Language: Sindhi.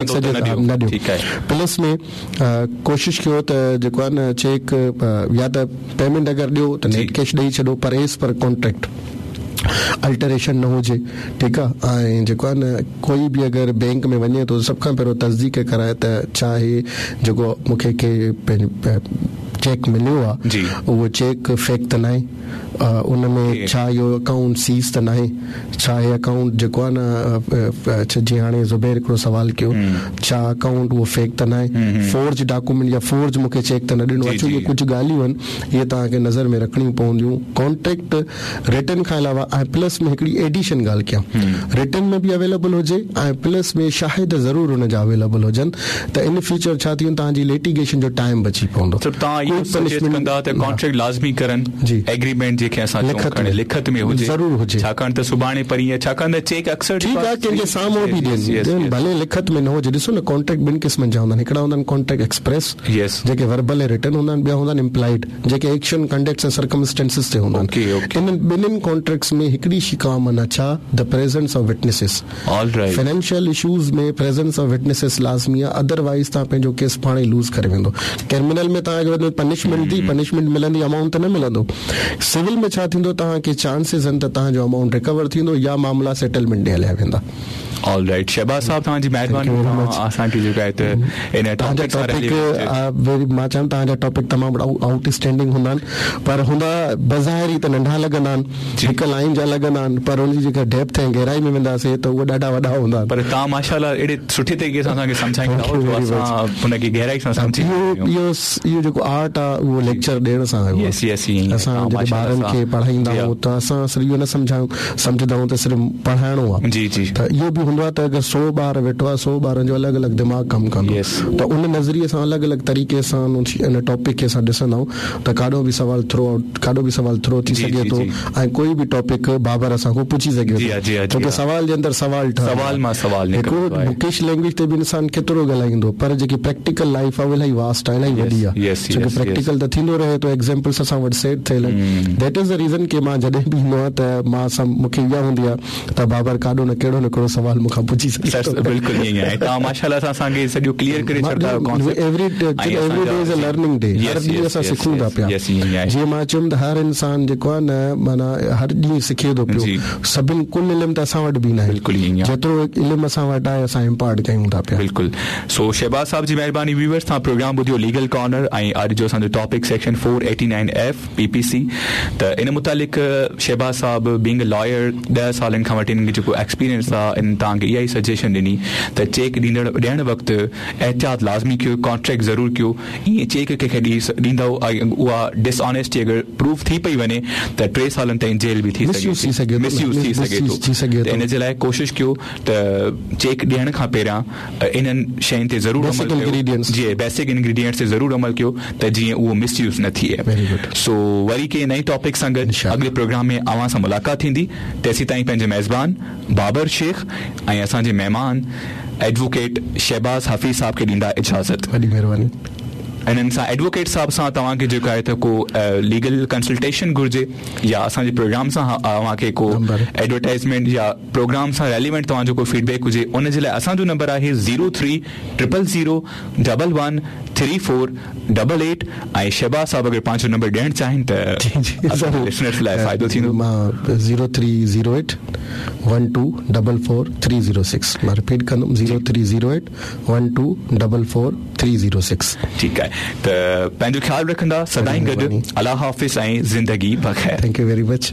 نه ڏيو پلس ۾ ڪوشش ڪيو ته جيڪو آهي نه چيڪ يا ته پيمينٽ اگر ڏيو ته نيٽ ڪيش ڏئي ڇڏو پر ايز پر ڪانٽريڪٽ الٽريشن نه هجي ٺيڪ آهي ۽ جيڪو آهي نه ڪوئي به اگر بينڪ ۾ وڃي ٿو سڀ کان پهريون تصديق ڪرائي ته ڇا هي جيڪو مون کي ڪي چيڪ مليو آهي اهو چيڪ فيڪ ته ناهي ان ۾ ڇا اهو اڪائونٽ سيز ته ناهي؟ ڇا هي اڪائونٽ جيڪو آهي نه جيئن هاڻي زبير هڪڙو سوال ڪيو ڇا اڪائونٽ اهو فيڪ ته ناهي؟ فورج ڊاڪومينٽ يا فورج مون کي چيڪ ته نه ڏنو اچو اهي ڪجهه ڳالهيون آهن اهي توهان کي نظر ۾ رکڻيون پونديون ڪانٽريڪٽ رٽن کان علاوه ۽ پلس ۾ هڪڙي ايڊيشن ڳالهه ڪيان رٽن ۾ به اويليبل هجي ۽ پلس ۾ شاهد ضرور ان جا اويليبل هجن ته ان فيوچر ڇا ٿيندو توهان جي ليٽيگيشن جو ٽائيم بچي پوندو. مطلب توهان اهو سجيسٽ ڪندا ته ڪانٽريڪٽ لازمي ڪرن ايگريمينٽ جنهن کي اسان چئون کڻي لکت ۾ هجي ضرور هجي ڇاڪاڻ ته سڀاڻي پرينء ڇاڪاڻ ته چيڪ اڪثر ٺيڪ آهي ڪنهن جي سامهون به ڏين ڀلي لکت ۾ نه هجي ڏسو نه ڪانٽريڪٽ ٻن قسمن جا هوندا آهن هڪڙا هوندا آهن ڪانٽريڪٽ ايڪسپريس جيڪي وربل ۽ رٽن هوندا آهن ٻيا هوندا آهن امپلائيڊ جيڪي ايڪشن ڪنڊڪٽس ۽ سرڪمسٽينسز تي هوندا آهن انهن ٻنهين ڪانٽريڪٽس ۾ هڪڙي شي ڪامن آهي ڇا the presence of witnesses financial issues ۾ presence of witnesses لازمي آهي ادر وائيز توهان پنهنجو ڪيس پاڻ ئي لوز ڪري ويندو ڪرمنل ۾ توهان کي وڌ ۾ پنشمينٽ ٿي پنشمينٽ ملندي امائونٽ ته نه ملندو سول ۾ ڇا ٿيندو توهان کي چانسز آهن ته توهان جو امائونٽ ريڪور ٿيندو يا معاملا سيٽلمينٽ ڏي هليا ويندا. آل رائيٽ شهباز صاحب توهان جي مهرباني توهان اسان کي جيڪو آهي ته ان توهان جا ٽاپڪ مان چوان توهان جا ٽاپڪ تمام آئوٽ اسٽينڊنگ هوندا آهن پر هوندا بظاهر ئي ته ننڍا لڳندا آهن هڪ لائين جا لڳندا آهن پر ان جي جيڪا ڊيپٿ ۽ گهرائي ۾ وينداسين ته اهي ڏاڍا وڏا هوندا آهن. پر توهان ماشاء الله اهڙي سٺي طريقي سان اسان کي سمجهائيندا آهيو جو اسان ان کي گهرائي سان سمجهي سگهندا آهيون. اهو جيڪو آرٽ آهي اهو ليڪچر ڏيڻ سان آيو آهي. اسان جڏهن ٻارن کي پڙهائيندا آهيون ته اسان صرف اهو نه سمجهايون سمجهندا آهيون ته صرف پڙهائڻو آهي ته اهو به هوندو آهي ته اگر سو ٻار ويٺو آهي سو ٻارن جو الڳ الڳ دماغ ڪم ڪندو ته ان نظريي سان الڳ الڳ طريقي سان ان ٽاپڪ کي اسان ڏسندا آهيون ته ڪاڏو به سوال ٿرو آئوٽ ڪاڏو به سوال ٿرو ٿي سگهي ٿو ۽ ڪوئي به ٽاپڪ بابر اسان کان پڇي سگهي ٿو ڇو ڪه سوال جي اندر سوال ٺهندو آهي هڪڙو بڪش لينگويج تي به انسان ڪيترو ڳالهائيندو پر جيڪي پريڪٽيڪل لائيف آهي اها الاهي واسٽ آهي الاهي وڏي آهي ڇو ڪه پريڪٽيڪل ته ٿيندو رهي ٿو ايگزيمپلس اسان وٽ سيٽ ٿيل آهن that is the reason ڪه مان جڏهن به ايندو آهيان ته مان سم مون کي اها هوندي آهي ته بابر ڪاڏو نه ڪهڙو نه ڪهڙو سوال مون کان پڇي سگهي ٿو. بلڪل ائين ئي آهي توهان ماشاءالله سان اسان کي سڄو ڪليئر ڪري ڇڏندا آهيو concept every day is a learning day هر ڏينهن اسان سکون ٿا پيا جيئن مان چيم ته هر انسان جيڪو آهي نه معنيٰ هر ڏينهن سکي ٿو پيو سڀن ڪل علم ته اسان وٽ به ناهي جيترو علم اسان وٽ آهي اسان امپارٽ ڪيون ٿا پيا. بلڪل سو شهباز صاحب جي مهرباني ويورز توهان پروگرام ٻڌيو ليگل ڪارنر ۽ اڄ جو اسان جو topic section 489 F P P C ته ان متعلق شهباز صاحب بينگ ا لائر ڏهه سالن کان وٺي انهن کي جيڪو ايڪسپيرينس آهي انهن توهان کي اها ئي سجيشن ڏني ته چيڪ ڏيندڙ ڏيڻ وقت احتياط لازمي ڪيو ڪانٽريڪٽ ضرور ڪيو ائين چيڪ ڪنهن کي ڏيندؤ ۽ اها ڊس آنيسٽي اگر پروف ٿي پئي وڃي ته ٽي سالن تائين جيل به ٿي سگهي ٿي مس يوز ٿي سگهي ٿو ته ان جي لاء ڪوشش ڪيو ته چيڪ ڏيڻ کان پهريان انهن شين تي ضرور عمل ڪيو جي بيسڪ انگريڊينٽس تي ضرور عمل ڪيو ته جيئن اهو مس يوز نه ٿئي سو وري ڪنهن نئين ٽاپڪ سان گڏ اڳلي پروگرام ۾ اوهان سان ملاقات ٿيندي تيسيتائين پنهنجي ميزبان بابر شيخ ۽ اسان جي مهمان ايڊووڪيٽ شهباز حفيظ صاحب کي ڏيندا اجازت. وڏي مهرباني. انهن سان ايڊووڪيٽ صاحب سان توهان کي جيڪو آهي ته ڪو ليگل ڪنسلٽيشن گهرجي يا اسان جي پروگرام سان اوهان کي ڪو ايڊورٽائزمينٽ يا پروگرام سان ريليونٽ توهان جو ڪو فيڊ بيڪ هجي ان جي لاء اسان جو نمبر آهي zero three triple zero double one three four double eight ۽ Shahbaz صاحب اگر پنهنجو نمبر ڏيڻ چاهين ته اسان جي لسنرس لاء فائدو ٿيندو. مان zero three zero eight one two double four three zero six مان رپيٽ ڪندم zero three zero eight one two double four three zero six. ٺيڪ آهي ته پنهنجو خيال رکندا سدائين گڏ الله حافظ ۽ زندگي بخير. Thank you very much.